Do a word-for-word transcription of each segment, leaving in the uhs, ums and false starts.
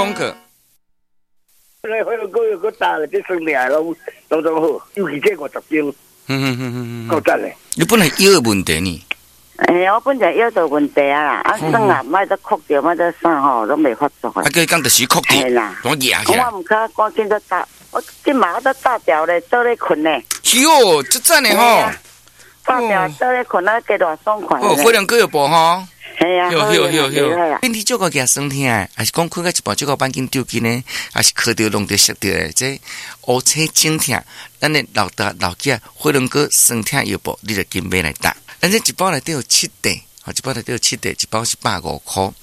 廣告。來火龍果又閣焦咧，這酸痛攏攏總好，尤其這五十斤，嗯嗯嗯嗯嗯，夠讚咧。你本來腰的問題呢？欸，我本來腰就問題啊啦，啊酸啊，莫得哭著，莫得啥吼，攏袂發作啊，叫伊講就是哭著，攏壓起來。我毋較趕緊就搭，我這馬我都搭掉咧，倒咧睏咧。喲，這讚的吼！搭掉倒咧睏啊，加偌爽快。哦，火龍果藥煲吼。係啊，好好好好。身體足夠額酸痛的，還是講睏到一半足夠扳緊抽筋呢？還是磕著弄著摔著的？這烏青腫痛，咱的老大老囝火龍果酸痛藥煲，你就緊買來打。咱這一包內底有七塊，吼，一包內底有七塊，一包是百五箍。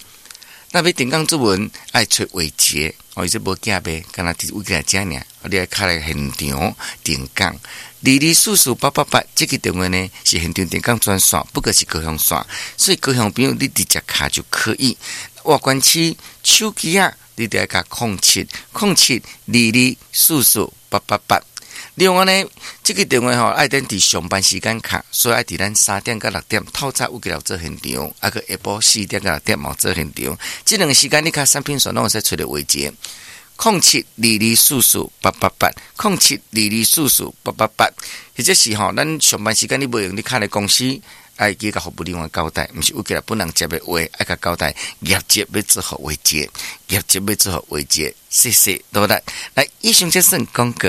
若欲定崗注文，愛揣偉傑，哦，伊這無寄賣，干焦佇偉傑遮爾，你愛敲來現場定崗。二二四四八八八，這個電話呢是現場定崗專線，不過是高雄線，所以高雄朋友你直接敲就可以。外縣市手機啊，你得愛敲空七空七二二四四八八八。另外呢，這個電話吼愛等佇上班時間敲，所以愛佇咱三點到六點透早有起來做現場，啊閣下晡四點到六點嘛做現場。這兩個時間你敲產品線攏會使揣著偉傑。空七二二四四八八八，空七二二四四八八八，或者是吼，咱上班時間你無閒，你敲來公司，愛記共服務人員交代，毋是有起來本人接的話，愛共交代業績欲做予偉傑，業績欲做予偉傑，謝謝多謝。來，以上這算廣告。